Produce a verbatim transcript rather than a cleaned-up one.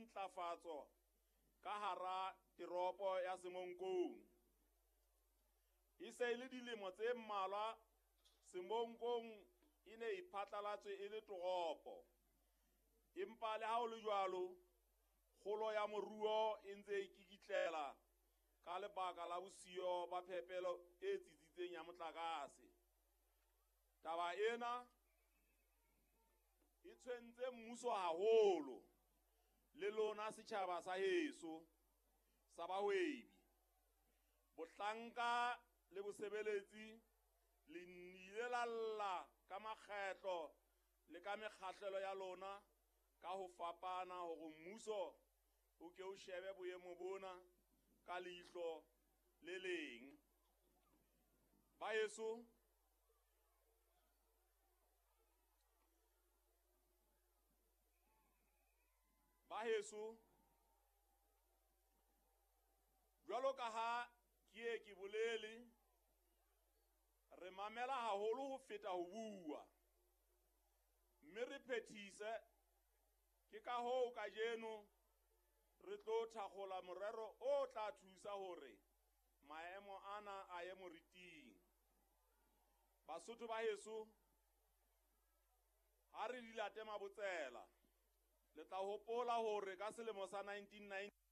dintlafatso ka hara teropo ya Semonkong. E se e le dilemo tse mmalwa Semonkong e ne e phatlalatswe e le toropo. Empa le ha ho le jwalo, kgolo ya moruo e ntse e kikitlela ka lebaka la bosiyo ba phepelo e tsitsitseng ya motlakase. Taba ena e tshwentse mmuso haholo le lona setjhaba sa heso sa bahwebi. Bohlanka le bosebeletsi le nnile la lla ka makgetlo le ka mekgahlelo ya lona ka ho fapana hore mmuso o ke o shebe boemo bona ka leihlo le leng. Baheso, baheso, jwalo ka ha ke ye ke bolele, re mamela haholo ho feta ho bua, mme re phethise. Ke ka hoo kajeno re tlo thakgola morero o tla thusa hore maemo ana a ye moriting. Basotho ba heso, ha re di late mabotsela, le tla hopola hore ka selemo sa nineteen ninety